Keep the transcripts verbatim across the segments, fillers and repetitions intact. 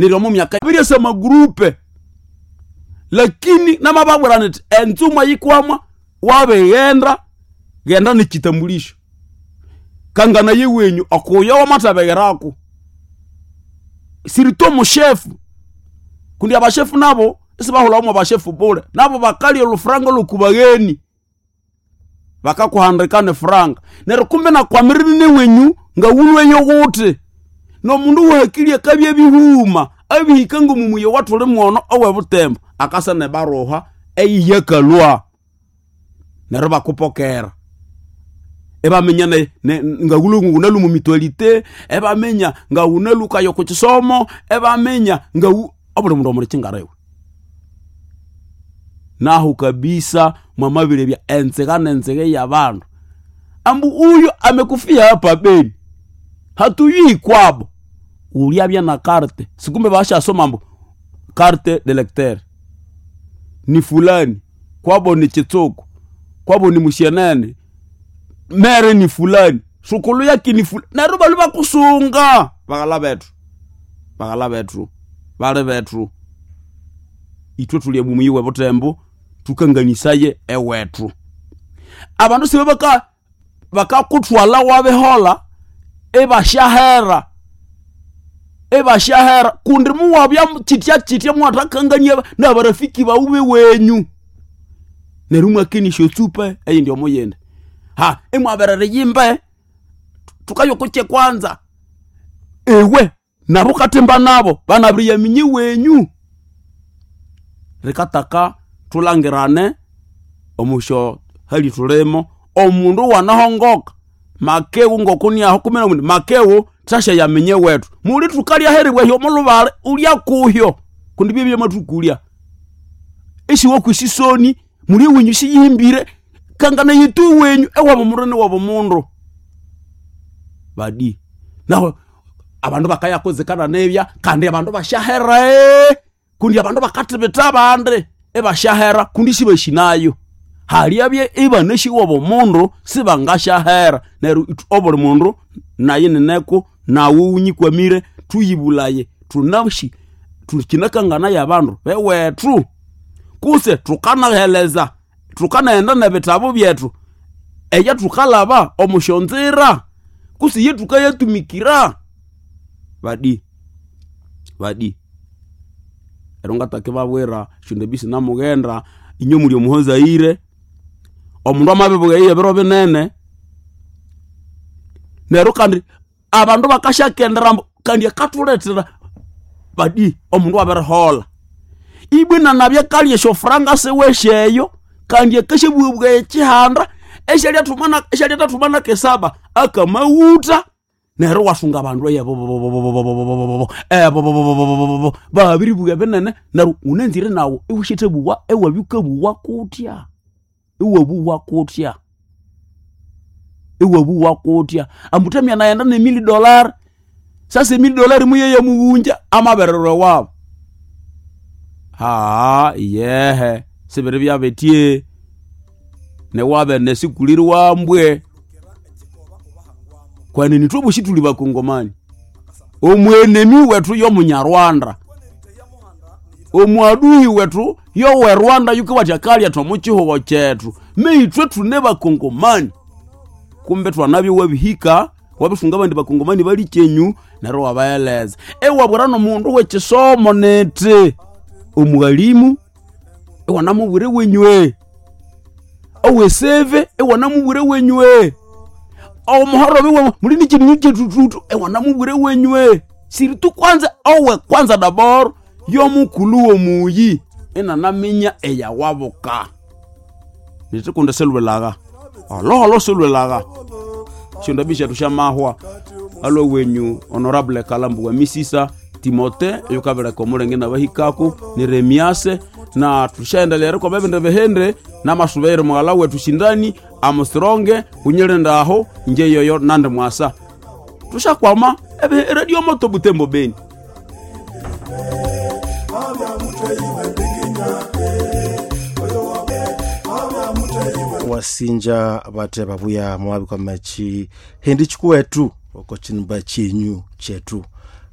Neryo omo myaka biryasa amagurupe, lakini namababwira niti enzuma yikwamwa wabighenda ghenda nekitambulisho kangana yewenyu okuyo wamathabegherako sirito omushefu kundi abashefu nabo isibahulhamu abashefu bule nabo bakalya olufuranga olwokubagheni bakakuhandika nefuranga neryo kumbe nakwamirire newenyu ngawulweyo ghuthi nomundu wahakili akabya ebihuma abihika ngomumuya wathuli mwono owebutembo akasa nebaruha eyiyakalwa neryo bakupokera ebaminya ne, ne, ngawulwe ngunalu mu mutualité ebaminya ngawunalukayo ku kisomo ebaminya ngawu obuli mundu omuli kingarewe nahu kabisa mwamabirebya enzega nenzega yabandu ambu uyo amekufia hapa Beni hatuyui kwabo uliabya na carte sikumbe bashasoma mbu carte de lecteur ni fulani kwabo ni chitsuku kwabo ni mushenene mere ni fulani sukulu yake ni fulani neryo balu bakusunga baghala bethu baghala bethu bali bethu ithwe thuli ebumuyi bwe butembo tukanganisaye ewethu abandu sibe baka bakakuthwala wabihola ebashahera ebashahera kundi muwabya chitya chitya mwathakangania nabarafiki bawu wenyu neryo mwakenisha otsupa eyindi omuyindi ha imwaberere yimbe tukayokoche kwanza ewe nabo katimba nabo banabiriyaminye wenyu rikataka tulangirane omusho hali tulimo omundu wanahongoka makewu ngokuniaho kumi na mundu makewu tasha yamenye wetu muli tukalya heribwehyo mulubale ulya kuhyo kundi byebye matukulya isiwo kwisisoni muli wenyu siyihimbire kangana yitu wenyu ewabo mundu niwabo mundu badi naho abandu bakayakozekana nebya kandi abandu bashahera kundi abandu bakathibitha abandi ebashahera kundi sibashinayo haliabye ibanashiwabo mundu sibangashahera neryo obuli mundu naye nineko nawe unyikwamire tuyibulaye tunashi tukinakangana yabandu bewethu kuse tukanaheleza tukanaghenda nebitabu byethu eya tukalaba omushonzira kuse ye tukayatumikira badi badi ero ngatake babwira shondebisi namughenda inyo muli omuhozaire omundu amabibuga ebiro binene neryo kandi abandu bakashakendera kandi akathulethera badi omundu abirihola ibwina nabya kalya esyofuranga siwesyeyo kandi akashabughabuga ekihanda esyalyathumanaka esyalyathathumanaka esaba akamawutha neryo wasunga abandu eyebobobobobobobobobo ebobobobobobobo babiribuga binene neryo unanzire nawu iwusyithabuwa ewabya kutya iwabuwa kutya iwabuwa kutya ambutamya naghenda nemili dollar sasa emili dollar muyeye mughunja amabererwe wabo haa iyehe sibiri byabetye newabe nesikuliri wambwe kwanini thwabosi thuli bakongomani omwenemi wethu yomunyarwanda omwadui wethu yowerwanda yukiwathya kalya thwamukihugo kyethu meithwe thune bakongomani kumbe thwanabya wabihika wabisunga abandi bakongomani bali kyenyu neryo wabaeleza ewabwira nomundu wekisomo niti omughalimu iwanamubwire wenywe oweseve iwanamubwire wenywe omuhorobi we muli nikindu kyetututu ewanamubwire wenywe siritu kwanza owe kwanza dabor yomukulhu womuyi inanaminya eyawabuka nitikundi silwilagha oloholo silwilagha syondabi syethu syamahwa alwe wenyu honorable Kalambu wa Misisa Timote yukabireka omulenge nabahikaku ni Remiase na tushaendelea kwa bebende behende namasubeire mughala wetu shindani amusironge unyilindaho nje yoyo nande mwasa tushakwama ebe radio moto Butembo Beni. Wasinja bate babuya mwabi machi hindi chikuwetu oko chinba chinyu chetu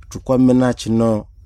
tukwamena chino